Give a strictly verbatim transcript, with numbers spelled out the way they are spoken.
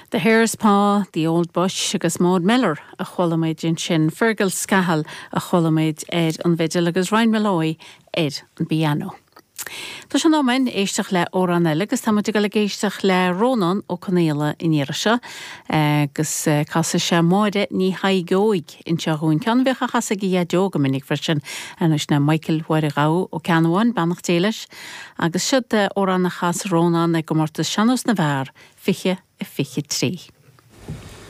The Hare's Paw, The Old Bush agus Maud Miller a chuala muid ansin, Fergal Scahill a chuala muid ar an bhfidil agus Ryan Molloy ar an bpianó. Tá sé in am éisteacht le amhrán eile agus táimid ag dul ag éisteacht le Rónán Ó Conaola an iarraidh seo agus casfaidh sé Máire Ní Thaidhg Óig anseo dhúinn ceann a bhíodh á chasadh ag a dhaideo go minic freisin anois ná Michael Mháire Ghabha Ó Ceannabháin beannacht Dé leis agus siod amhrán a chas Rónán i gcomórtas Sean-nós na bhFear fiche a fiche trí.